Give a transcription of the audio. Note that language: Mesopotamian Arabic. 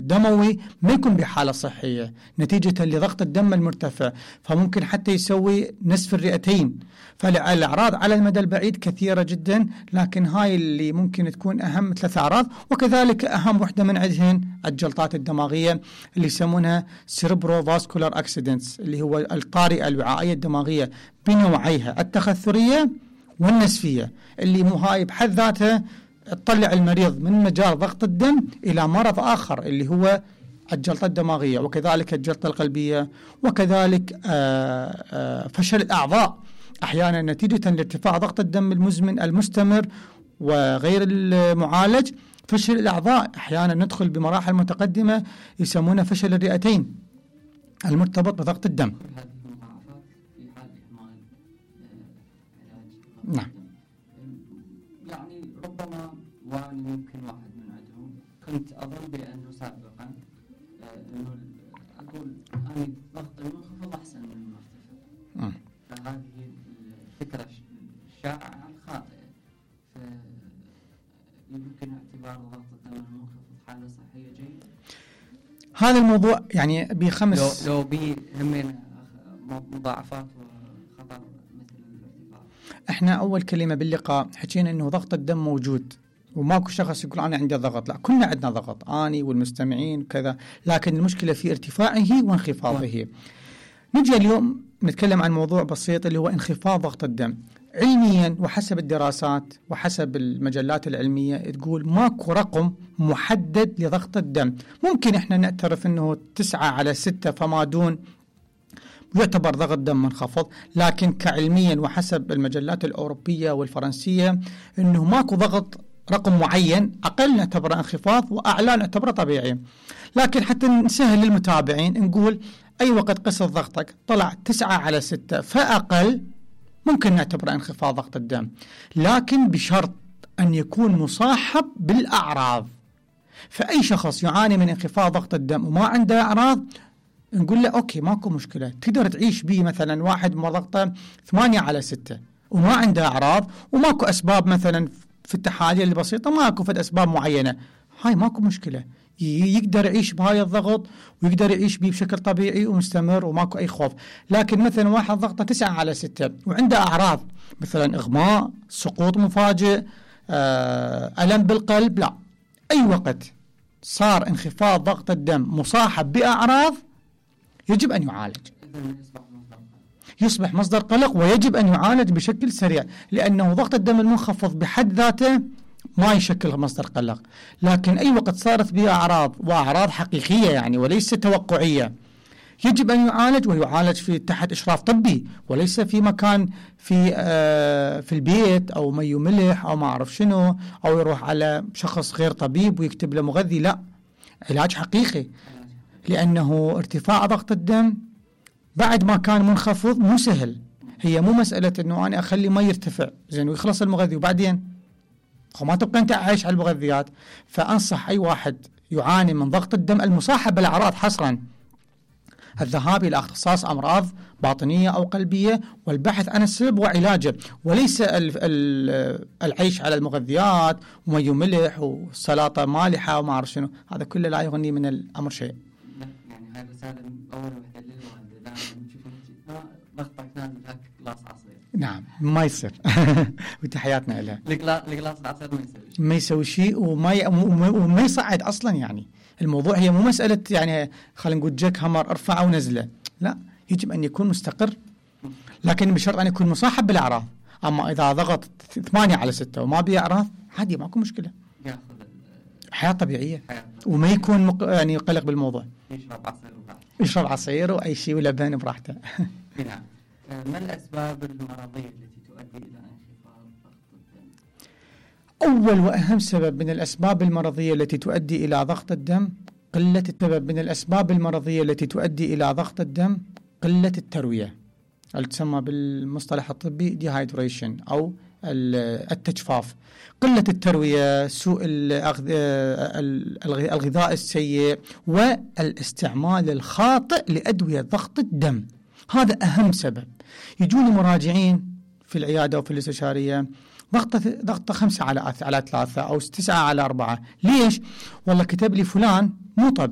الدموي ما يكون بحالة صحية نتيجة لضغط الدم المرتفع، فممكن حتى يسوي نسف الرئتين. فالأعراض على المدى البعيد كثيرة جدا، لكن هاي اللي ممكن تكون أهم 3 أعراض. وكذلك أهم وحدة من عندهن الجلطات الدماغية اللي يسمونها cerebrovascular accidents، اللي هو الطارئة الوعائية الدماغية بنوعيها التخثرية والنسفية، اللي هاي بحد ذاتها تطلع المريض من مجال ضغط الدم إلى مرض آخر اللي هو الجلطة الدماغية، وكذلك الجلطة القلبية، وكذلك فشل الأعضاء أحيانا نتيجة لارتفاع ضغط الدم المزمن المستمر وغير المعالج. فشل الأعضاء أحيانا ندخل بمراحل متقدمة يسمونها فشل الرئتين المرتبط بضغط الدم. نعم. يعني ربما وأنا يمكن واحد من عندهم كنت أظن بأنه سابقا أنه أقول أنا ضغط المنخفض أحسن من المرتفع، فهذه الفكرة الشائعة الخاطئة. فيمكن اعتبار ضغط الدم المنخفض حالة صحية جيدة. هذا الموضوع يعني بخمس لو همين مضاعفات وخطر مثل الارتفاع. احنا أول كلمة باللقاء حكينا إنه ضغط الدم موجود وماكو شخص يقول أنا عندي ضغط، لا كلنا عندنا ضغط، أنا والمستمعين وكذا، لكن المشكلة في ارتفاعه وانخفاضه. نجي اليوم نتكلم عن موضوع بسيط اللي هو انخفاض ضغط الدم. علميا وحسب الدراسات وحسب المجلات العلمية تقول ماكو رقم محدد لضغط الدم. ممكن احنا نعترف انه 9/6 فما دون يعتبر ضغط دم منخفض، لكن كعلميا وحسب المجلات الأوروبية والفرنسية انه ماكو ضغط رقم معين، أقل نعتبره انخفاض وأعلى نعتبره طبيعي. لكن حتى نسهل للمتابعين نقول أي وقت قست ضغطك طلع 9/6 فأقل ممكن نعتبره انخفاض ضغط الدم، لكن بشرط أن يكون مصاحب بالأعراض. فأي شخص يعاني من انخفاض ضغط الدم وما عنده أعراض نقول له أوكي ماكو مشكلة، تقدر تعيش به. مثلا واحد ضغطه 8/6 وما عنده أعراض وماكو أسباب، مثلا في التحاليل البسيطة ماكو فد أسباب معينة، هاي ماكو مشكلة، يقدر يعيش بهاي الضغط ويقدر يعيش به بشكل طبيعي ومستمر وماكو أي خوف. لكن مثلا واحد ضغطه 9/6 وعنده أعراض مثلا إغماء، سقوط مفاجئ، ألم بالقلب، لا، أي وقت صار انخفاض ضغط الدم مصاحب بأعراض يجب أن يعالج، يصبح مصدر قلق ويجب أن يعالج بشكل سريع، لأنه ضغط الدم المنخفض بحد ذاته ما يشكل مصدر قلق. لكن أي وقت صارت بها أعراض وأعراض حقيقية يعني وليس توقعية يجب أن يعالج، ويعالج في تحت إشراف طبي وليس في مكان في البيت أو مي وملح أو ما أعرف شنو، أو يروح على شخص غير طبيب ويكتب له مغذي، لا، علاج حقيقي. لأنه ارتفاع ضغط الدم بعد ما كان منخفض مو سهل، هي مو مسألة أنه أنا أخلي ما يرتفع زين ويخلص المغذي وبعدين ما تبقى أنت عايش على المغذيات. فأنصح أي واحد يعاني من ضغط الدم المصاحب بالأعراض حصرا الذهاب إلى اختصاص أمراض باطنية أو قلبية والبحث عن السبب وعلاجه، وليس العيش على المغذيات ومي وملح وسلطة مالحة وما أعرف شنو، هذا كله لا يغني من الأمر شيء. يعني هذا سالم أول وحدة للوالدة لا نشوف ضغطك نازل هاك قلاص عصير. نعم ما يصير وتحياتنا لها. القلاص العصير ما يسوي شيء وما يصعد أصلا. يعني الموضوع هي مو مسألة يعني خلينا نقول جاك همر ارفعه ونزله، لا، يجب أن يكون مستقر، لكن بشرط أن يكون مصاحب بالأعراض. أما إذا ضغط 8/6 وما بيه أعراض عادي ماكو مشكلة، حياة طبيعية وما يكون يعني يقلق بالموضوع، يشرب عصير وأي شيء ولبن براحته. نعم. ما الأسباب المرضية التي تؤدي إلى انخفاض ضغط الدم؟ أول وأهم سبب من الأسباب المرضية التي تؤدي إلى ضغط الدم قلة التروية، اللي تسمى بالمصطلح الطبي dehydration أو التجفاف. قلة التروية، سوء الغذاء السيء، والاستعمال الخاطئ لأدوية ضغط الدم، هذا أهم سبب. يجوني مراجعين في العيادة وفي الاستشارية ضغطه 5/3 أو 9/4، ليش؟ والله كتب لي فلان مو طبيعي